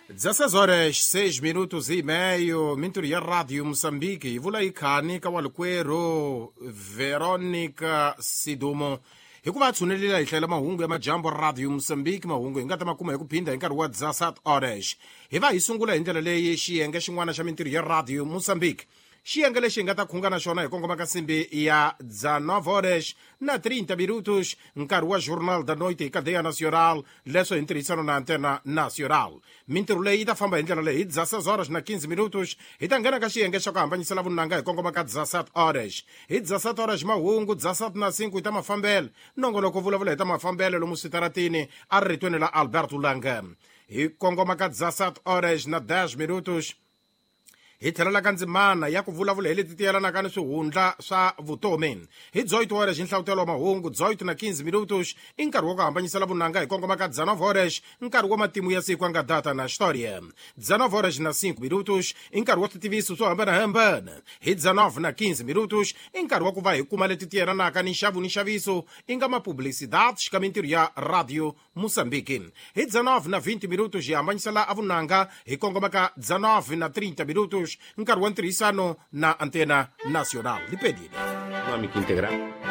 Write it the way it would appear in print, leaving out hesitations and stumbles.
16 horas 6 minutos e meio, mintur ya Rádio Moçambique, yi vula yi khani ka walikwerhu Veronica Sidumo hikuva a tshunelile hi hlayela mahungu ya majambo Radio Moçambique. Mahungu hi nga ta ma kuma hi ku phinda hi nkarhi wa 17 horas. Hi va hi sungula hi ndlela leyi xiyenge xin'wana xa mintirho ya Radio Moçambique, xiyenge lexi hi nga ta khunga na xona hi kongoma ka nsimbi ya 19 horas na 30 minutos, nkarhi wa Journal da Noite hi Cadeia Nacional, leswo hi ntirhisano na Antena Nacional. Mintirho leyi yi ta famba hi ndlela leyi: hi 16 horas na 15 minutos hi ta nghena ka xiyenge xa ku hambanyisela vunanga hi kongoma ka 17 horas. Hi 17 horas mahungu 17 na 5 hi ta mafambelo, nongonoko vulavula hi ta mafambelo lomu switaratini a ri ritweni la Alberto Lange. Hi kongoma ka 17 horas na 10 minutos hi tlhelela ka ndzimana ya ku vulavula hi leti ti yelanaka ni swihundla swa vutomi. Hi 18 horas nhlavutelo wa mahungu, 18 na 15 minutos i nkarhi wa ku hambanyisela vunanga hi kongoma ka 19 horas, nkarhi wa matimu ya siku anga data na história. 19 horas na 5 minutos i nkarhi wa switiviso swo hambanahambana. Hi 19 na 15 minutos i nkarhi wa ku va hi kuma leti ti yelanaka ni nxavo ni nxaviso, i nga mapublicidades ka mintirho ya Radio Moçambique. Hi 19 na 20 minutos hi hambanyisela avunanga hi kongoma ka 19 na 30 minutos, nkarhi wa ntirhisano na Antena Nacional. Lipedile Económica integral.